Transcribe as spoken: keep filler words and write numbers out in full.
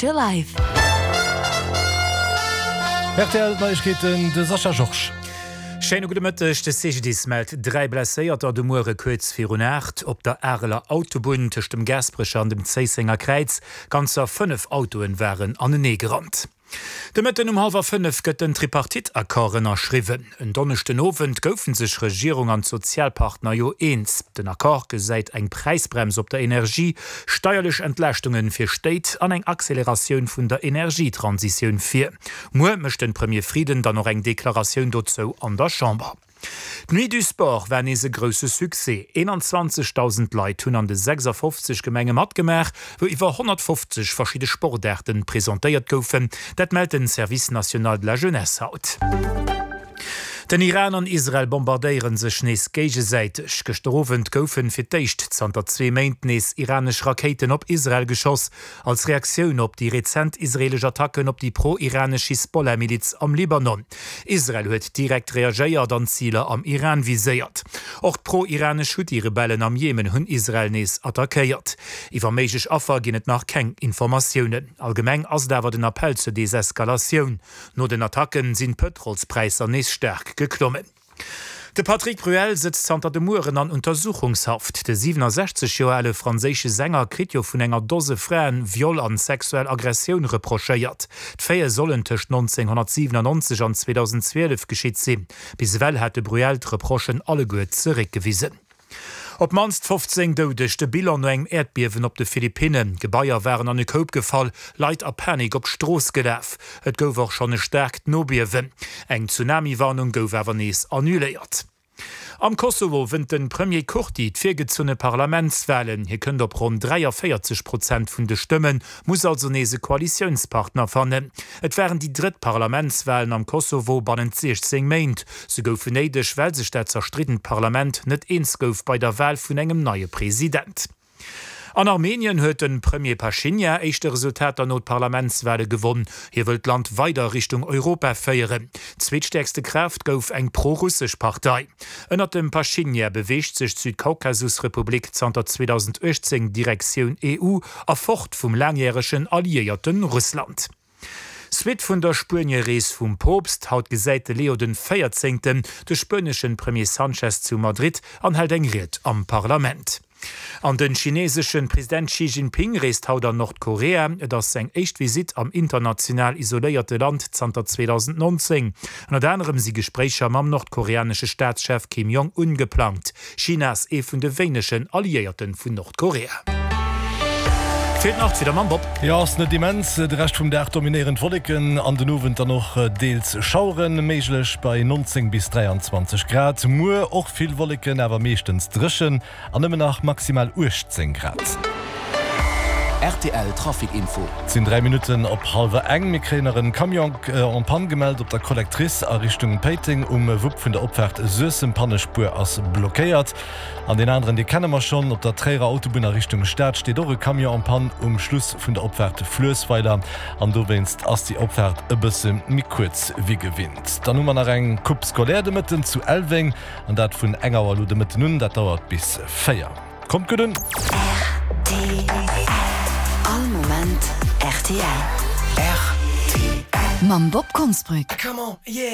Your life. R T L Neiegkeeten, de Sascha Georges. Schéine gudde Mëtteg, De C G D I S mellt dräi Blesséierter de Muere kuerz virun aacht op der Areler Autobunn tëscht dem Gaasperecher an dem Zéissenger Kräiz. Ganzer fënnef Autoen waren anenee gerannt. De Mëtten um hallwer fënnef gëtt den Tripartite-Accord ënnerschriwwen. En Donneschden Owend goufe sech Regierung an d'Sozialpartner jo eens. Den Accord gesäit eng Präisbrems op der Energie, steierlech Entlaaschtunge fir Stéit an eng Acceleratioun vun der Energietransitioun vir. Muer mécht de Premier Frieden dann och eng Deklaratioun dozou an der Chamber. D'Nuit du Sport war nees e grousse Succès. eenanzwanzegdausend Leit hunn an de sechsafofzeg Gemenge matgemaach, wou iwwer honnertfofzeg verschidde Sportaarten presentéiert goufen. Dat mellt den Service national de la jeunesse haut. Den Iran an Israel bombardéiere sech nees géigesäiteg. Gëschter Owend goufen fir d'éischt zanter zwee Méint nees iranesch Rakéiten op Israel geschoss, als Reaktioun op déi rezent israelesch Attacken op déi pro-iranesch Hisbollah-Miliz am Libanon. Israel huet direkt reagéiert an Ziler am Iran viséiert. Och d'pro-iranesch Huthi-Rebellen am Jemen hunn Israel nees attackéiert. Iwwer méiglech Affer ginn et nach keng Informatiounen. Allgemeng ass et awer den Appell zur Deseskalatioun. No den Attacken sinn d'Pëtrolspräisser nees staark geklommen. De Patrick Bruel sëtzt zanter de Mueren an Untersuchungshaft. De siwenasechzeg Joer ale franséische Sänger kritt jo vun enger Dose Fraen Viol an sexuell Aggressioun reprochéiert. D'Faite sollen tëscht nonzénghonnertsiwenannonzeg an zweedausendzwielef geschitt sinn. Bis ewell hat de Bruel d'Reprochen alleguer zeréckgewisen. Op d'mannst fofzéng Doudeg, de Bilan no engem Äerdbiewen op de Philippinnen. Gebaier waren an e Koup gefall, Leit a Panik op d'Strooss gelaf. Et gouf och schonn e staarkt Nobiewen. Eng Tsunami-Warnung gouf awer nees annuléiert. Am Kosovo wënnt de Premier Kurti d'virgezunne Parlamentswalen. Hie kënnt op ronn dräiavéierzeg Prozent vun de Stëmmen, muss also nees e Koalitiounspartner fannen. Et waren déi drëtt Parlamentswalen am Kosovo bannent siechzéng Méint. Se goufen néideg, well sech dat zerstriddent Parlament net eens gouf bei der Wal vun engem neie President. An Armenien huet de Premier Pashinyan éischte Resultater no d'Parlamentswale gewonn. Hie wëll d'Land weider Richtung Europa féieren. Zweetstäerkste Kraaft gouf eng pro-russesch Partei. Ënnert dem Pashinyan beweegt sech d'Südkaukasusrepublik zanter zweedausenduechtzéng Direktioun E U a fort vum laangjäregen Alliéierte Russland. Suite vun der Spuenie-Rees vum Poopst, Haut gesäit de Leo den Véierzéngten de spueneschen Premier Sanchez zu Madrid an hält eng Ried am Parlament. An den chineseschen President Xi Jinping reest haut an Nordkorea. Et ass seng éischt Visitt am international isoléierte Land zanter zweedausendnonzéng. Ënnert anerem si Gespréicher mam nordkoreanesche Staatschef Kim Jong-un geplangt. China ass ee vun de wéinegen Alliéierte vun Nordkorea. Fir d'Nacht wieder mam Bob. Jo, ass net immens. De Rescht vum Dag dominéieren d'Wolleken, an den Owend dann och deels Schaueren méiglech bei neunzéng bis dräianzwanzeg Grad. Muer och vill Wolleken, awer meeschtens dréchen an nëmmen nach maximal uechtzéng Grad. R T L Trafic Info. Et sinn dräi Minutten op hallwer eng. Mir kréien nach en Camion en panne gemellt op der Collectrice a Richtung Péiteng um Wupp vun der Opfaart Suessem. Pannespuer ass blockéiert. An deen aneren, dee kenne mer schonn, op der Tréierer Autobunn a Richtung Stad steet och e Camion en panne um Schluss vun der Opfaart Fluessweiler an dowéinst ass déi Opfaart e bësse méi kuerz wéi gewinnt. Dann hu mer nach eng Coupe scolaire de Mëtten zu Elweng an dat vun eng Auer elo de Mëtten un, dat dauert bis véier. Kommt gutt un! R T L. All Moment R T L. R T L. Mam Bob Konsbrück. Come on, yeah!